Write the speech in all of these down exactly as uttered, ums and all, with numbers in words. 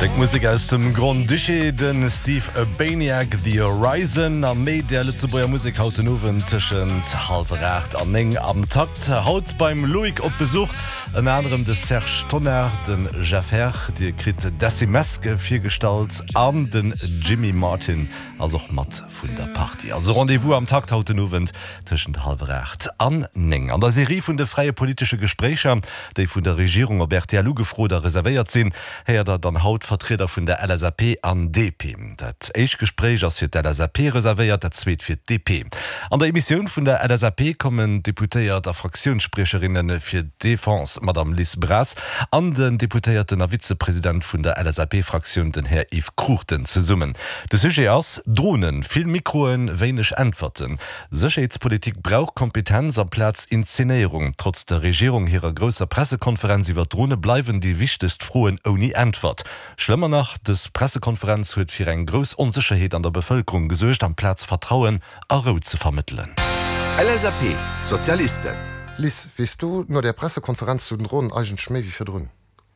Stéck Musek aus dem Grand-Duché, de Steve Urbaniak, The Horizon a méi där Lëtzebuerger Musek haut den Owend tëschent hallwer aacht an néng am Takt. Haut beim Loïc op Besuch ënner anerem de Serge Tonnar, de Jeff Herr, Dir kritt Decimesk virgestallt an den Jimmy Martin ass och mat vun der Partie. Also Rendez-vous am Takt haut den Owend tëschent hallwer aacht an néng. An der Serie vun de fräie politesche Gespréicher, déi vun der Regierung op rtl ugefrot a reservéiert sinn, héiert der dann haut Vertrieder vun der LSAP an D P. Dat éischt Gespréich ass fir d'L S A P reservéiert, dat zweet fir d'D P. An der Emissioun vun der L S A P kommen d'Deputéiert a Fraktiounsspriecherinne fir Defense, d'Madame Liz Braz, an den Deputéierten a Vizepresident vun der L S A P-Fraktioun, den Här Yves Cruchten, zesummen. De Sujet ass Dronen, vill Mikroen, wéineg Äntwerten. Sécherheetspolitik brauch Kompetenz amplaz Inszenéierung. Trotz der Regierung hirer grousser Pressekonferenz iwwer Drone bleiwen déi wichtegst Froen ouni Äntwert. Schlëmmer nach, dës Pressekonferenz huet fir eng grouss Onsécherheet an der Bevëlkerung gesuergt, amplaz Vertrauen a Rou ze vermëttelen. L S A P, Sozialisten. Liz, weess du no der Pressekonferenz zu den Dronen eigentlech méi wéi virdrun?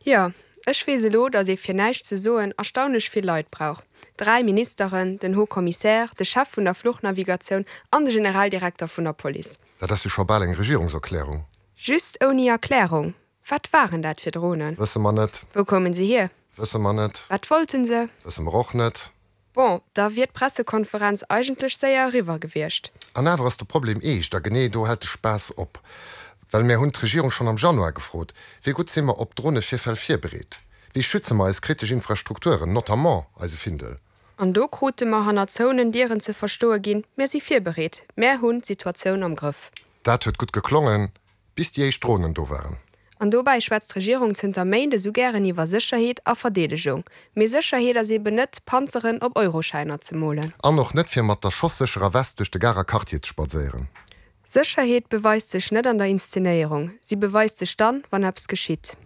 Jo, ech weess elo, datt ee fir näischt ze soen erstaunlech vill Leit brauch. Dräi Ministeren, den Haut Commissaire, de Chef vun der Fluchnavigatioun an de Generaldirekter vun der Police. Dat ass jo scho bal eng Regierungserklärung. Just ouni Erklärung. Wat waren dat fir Dronen? Wësse mer net. Wou koumen se hier? Wësse mer net. Wat wollten se? Wësse mer och net. Bon, da wier d'Pressekonferenz eigentlech séier eriwwer gewiescht. An awer ass de Problem eescht a genee do hält de Spaass op. Well mir hunn d'Regierung schonn am Januar gefrot, wéi gutt si mer op Dronevirfäll virbereet? Wéi schütze mer eis kritesch Infrastrukturen, notamment eise Findel? An do krute mer hannert zouenen Dieren ze verstoe ginn, mir si virbereet, mir hunn d'Situatioun am Grëff. Dat huet gutt geklongen, bis déi éischt Dronen do waren. An dobäi schwätzt d'Regierung zënter Méint esou gären iwwer Sécherheet a Verdeedegung. Mee Sécherheet ass eben net, Panzeren op Euroschäiner ze molen. An och net fir mat der schossécherer West duerch de Garer Quartier ze spadséieren. Sécherheet beweist sech net an der Inszenéierung, si beweist sech dann, wann eppes geschitt.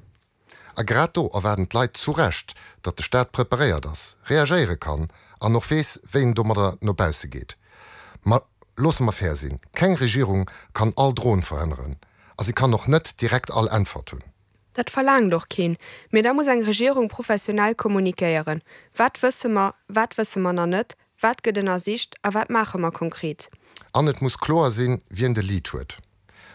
A grad do erwaarden d'Leit zu Recht, datt de Staat preparéiert ass, reagéiere kann an och weess, wéi en domadder no bausse geet. Ma loosse mer fair sinn, keng Regierung kann all Dron verhënneren a si kann och net direkt all Äntwert hunn. Dat verlaangt och keen. Mee da muss eng Regierung professionell kommunikéieren. Wat wësse mer, wat wësse mer nach net, wat gëtt ënnersicht a wat maache mer konkret? An et muss kloer sinn, wien de Lead huet.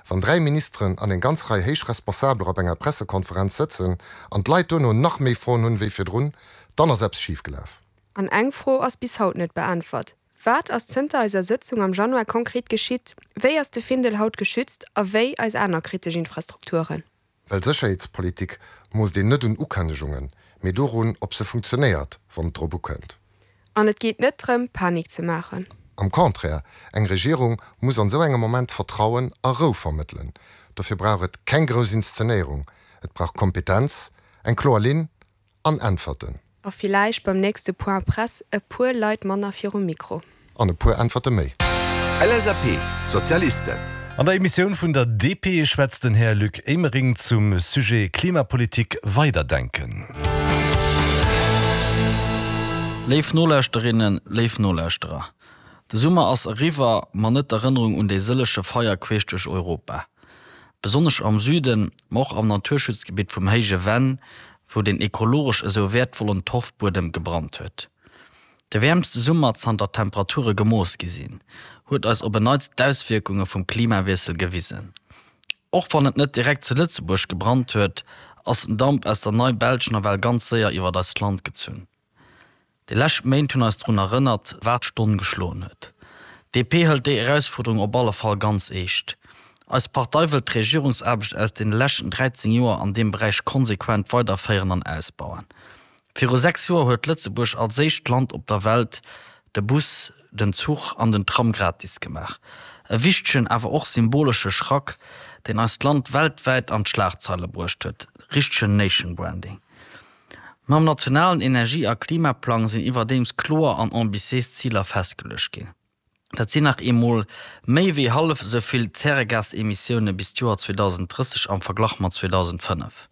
Wann dräi Ministeren an eng ganz Rei héich Responsabeler op enger Pressekonferenz sëtzen an d'Leit duerno nach méi Froen hunn wéi virdrun, dann ass eppes schifgelaf. An eng Fro ass bis haut net beäntwert. Wat ass zënter eiser Sëtzung am Januar konkret geschitt? Wéi ass de Findel haut geschützt a wéi eis aner kritesch Infrastrukturen? Well Sécherheetspolitik moosst een net un Ukënnegungen, mee dorun, ob se funktionéiert, wann et drop ukënnt. An et geet net drëm, Panik ze maachen. Am Contraire, eng Regierung muss an esou engem Moment Vertrauen a Rou vermëttelen. Dofir brauch et keng grouss Inszenéierung. Et brauch Kompetenz, eng kloer Linn an Äntwerten. A villäicht beim nächste Point Presse e puer Leit manner virum Mikro. An e puer Äntwerte méi. L S A P, Sozialisten. An der Emissioun vun der D P schwätzt den Här Luc Emering zum Sujet Klimapolitik weiderdenken. Léif Nolauschterinnen, léif Nolauschterer. De Summer ass eriwwer, ma net d'Erënnerung un déi sëllege Feier queesch duerch Europa. Besonnesch am Süden, ma och am Naturschutzgebitt vum Héije Venn, wou den ekologesch esou wäertvollen Torfbuedem gebrannt huet. De wäermste Summer zanter Temperature gemooss gi sinn, huet eis op en Neits d'Auswierkunge vum Klimawiessel gewisen. Och wann et net direkt zu Lëtzebuerg gebrannt huet, ass den Damp aus der Nei-Belsch nawell ganz séier iwwer eist Land gezunn. Déi lescht Méint hunn eis drun erënnert, wat d'Stonn geschloen huet. D P hëlt déi Erausfuerderung op alle Fall ganz eescht. Eis Partei wëllt d'Regierungsaarbecht aus den leschten dräizéng Joer an deem Beräich konsequent weiderféieren an ausbauen. Viru sechs Joer huet Lëtzebuerg als éischt Land op der Welt de Bus, den Zuch an den Tram gratis gemaach. E wichtegen, awer och symbolesche Schrack, deen eist Land weltwäit an d'Schlagzeile bruecht huet, richtegen Nation Branding. Mam nationalen Energie a Klimaplang sinn iwwerdeems kloer an ambitiéis Ziler festgeluecht ginn. Dat sinn nach eemol méi wéi hallef esou vill Zäregasemissioune bis d'Joer zweedausenddrësseg am Verglach mat zweedausendfënnef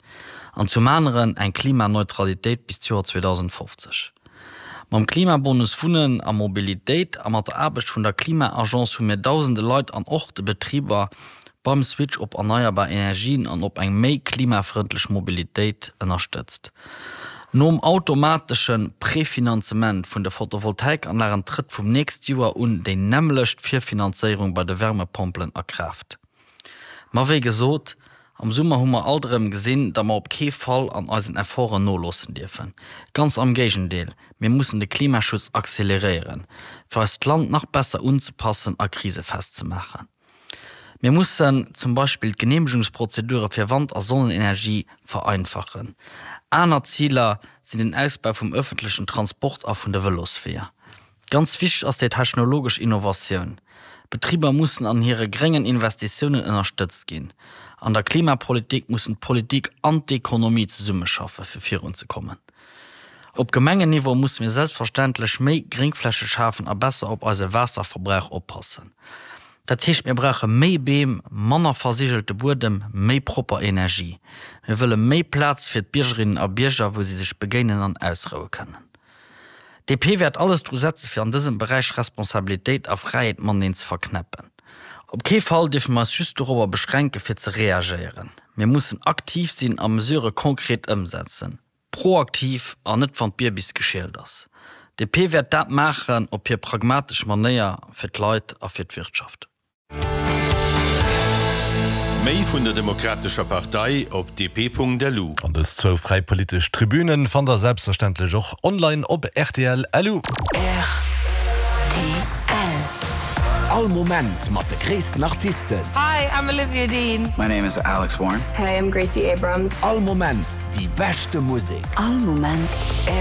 an zum aneren eng Klimaneutralitéit bis d'Joer zweedausendfofzeg. Mam Klimabonus Wunnen a Mobilitéit a mat der Aarbecht vun der Klima-Agence hu mir dausende Leit an och de Betriber beim Switch op erneierbar Energien an op eng méi klimafrëndlech Mobilitéit ënnerstëtzt. Nom automatesche Prefinanzement vun de Photovoltaikanlagen trëtt vum nächst Joer un déi nämmlecht Virfinanzéierung bei de Wärmepompelen a Kraaft. Ma wéi gesot, am Summer hu mer alt erëm gesinn, datt mer op kee Fall an eisen Efforten noloossen dierfen. Ganz am Géigendeel, mir mussen de Klimaschutz acceleréieren, fir eist Land nach besser unzepassen a krisefest ze maachen. Mir mussen zum Beispill d'Geneemegungsprozedure fir Wand a Sonnenenergie vereinfachen. Aner Ziler sinn den Ausbau vum ëffentlechen Transport a vun de Vëlosweeër. Ganz wichteg ass déi technologesch Innovatioun. D'Betriber mussen an hire gréngen Investitiounen ënnerstëtzt ginn. An der Klimapolitik mussen d'Politik an d'Ekonomie zesummeschaffen, fir virunzekommen. Op Gemengenniveau musse mir selbstverständlech méi Gréngfläche schafen a besser op eise Waasserverbrauch oppassen. Dat heescht, mir brauche méi Beem, manner versigelte Buedem, méi propper Energie. Mir wëlle méi Plaz fir d'Biergerinnen a Bierger, wou si sech begéinen an ausroue kënnen. DP wäert alles dru setze fir an dësem Beräich Responsabilitéit a Fräiheet mateneen ze verknäppen. Op kee Fall dierfe mer eis just dorobber beschränke fir ze reagéieren. Mir mussen aktiv sinn a Mesurë konkret ëmsetzen. Proaktiv an net wann d'Bier bis geschielt ass. DP wäert dat maachen op hir pragmatesch Manéier fir d'Leit a fir d'Wirtschaft. Méi vun der Demokratescher Partei op dp.lu. An dës zwou fräi politesch Tribünen fannt der selbstverständlech och online op rtl. Lu. Rtl. All Moment mat de gréissten Artisten. Hi, I'm Olivia Dean. My name is Alex Warren. Hey, I'm Gracie Abrams. All Moment déi beschte Musek. All Moment.